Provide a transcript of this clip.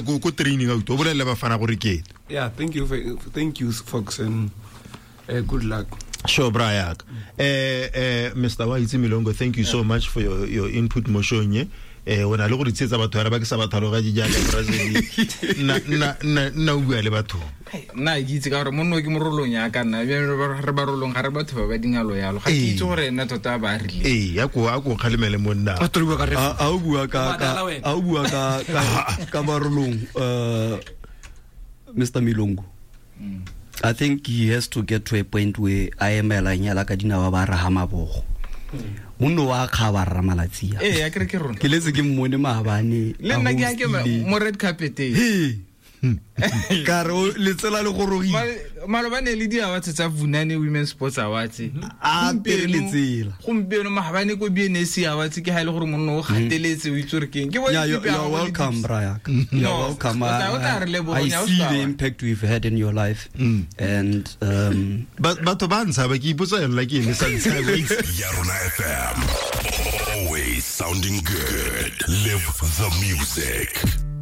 ko ko training out o bolelele bafana gore ke Yeah, thank you, thank you, folks, and good luck. Sure, bra yaka. Mr. Waitse Milongo, thank you so much for your input mo showng e. O na le go di tsietsa batho ba ke sa ba tlhaloganye jaaka Brazil. Nna o bua le batho. Nna ke itse ka gore monno ke morolong ya ka nna, bjale re barolong ga re batho ba ba dingalo yalo. Ga ke itse gore nna tota ba rile. Ee, a ko kgalemele monna. A tlo bua ka ref. A o bua ka, Ba ka, dala wena. a o bua ka, ka, ka barolong, Mr. Milongo. I think he has to get to a point where a emela nyala ka dinao ba raha mabogo. Monno wa kgaba rra malatsi a. Ee, a kere ke rona. Ke letse ke mmone maabane, Le a nna ke a ke hostile. mo red carpet e. He. Ka re o letsela le gorogile. Malobane le di awards tsa Vunani Women's Sports Awards. A apere letsela. Gompieno maabane ko BNSC Awards ke ha ile gore monna o gateletse o itse gore ke eng. Ke bone Yeah, tipe ya you're gagwe le welcome, dips. Brian. You're No, welcome. o tla re leboga, I o see sa the wa. impact we've had in your life. And Batho ba ntshaba, ke ipotsa yona ke eng le sa ntshabe. Ya Rona FM. Always sounding good. Live the music.